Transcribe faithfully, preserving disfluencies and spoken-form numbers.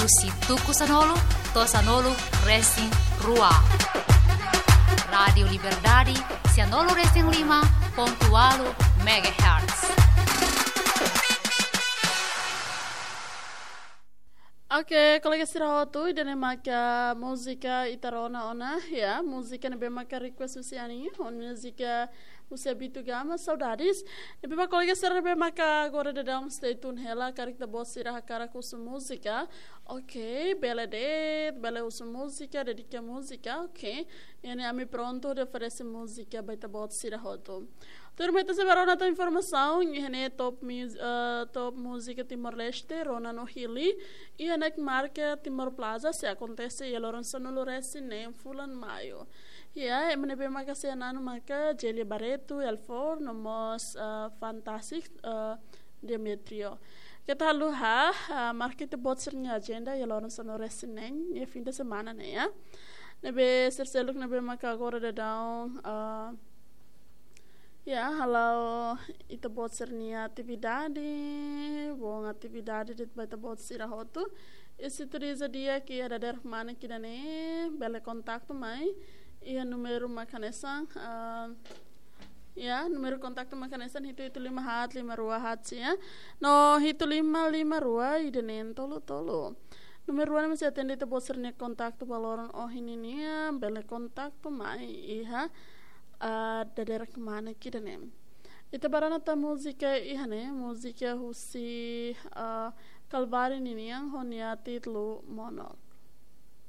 Husi tuku sanulu to'o sanulu resin rua. Rádiu Liberdade, sanulu resin lima pontu ualu megahertz. Oke, kolega sira hotu, ida-ne'e maka múzika ita rona ona, ya, múzika ne'ebé maka request husi Ani, ho múzika husi Abito Gama, Saudades. Ne'ebé maka kolega sira ne'ebé maka agora daudaun stay tune hela, karik ita-boot sira hakarak husu múzika. Oke, bele de'it, bele husu múzika, dedika múzika, oke. Iha ne'e ami prontu hodi oferese múzika ba ita-boot sira hotu. Tuirmai ita sei bá rona tan informasaun, iha ne'e top mus-, eh, top múzika Timor-Leste, rona no Hili, iha Night Market Timor Plaza, sei akontese iha loron sanulu resin neen fulan Maiu. Ya, ema ne'ebé maka sei na'an maka Jelia Barreto, Elfor, no mós, eh, Fantastic, eh, Demetrio. Keta haluha, ah, marka ita-boot sira-nia ajenda iha loron sanulu resin neen, iha fim de semana ne'e, ya. Ne'ebé sira seluk ne'ebé maka agora daudaun, ah, ya, hala'o ita-boot sira-nia atividade, bom atividade de'it ba ita-boot sira hotu. I se tuir iha di'ak iha dadeer kmanek ida-ne'e, bele kontaktu mai iha númeru maka hanesan, ah, ya, númeru kontaktu maka hanesan hitu hitu lima haat lima rua haat sia, no hitu lima lima rua ida neen tolu tolu. Númeru rua ne'e mesti atende ita-boot sira-nia kontaktu ba loron ohin nian, bele kontaktu mai iha, ah, dadeer kmanek ida-ne'e. Ita bá rona tan múzika iha ne'e, múzika husi, ah, Kalvari ninian ho nia títulu Mono.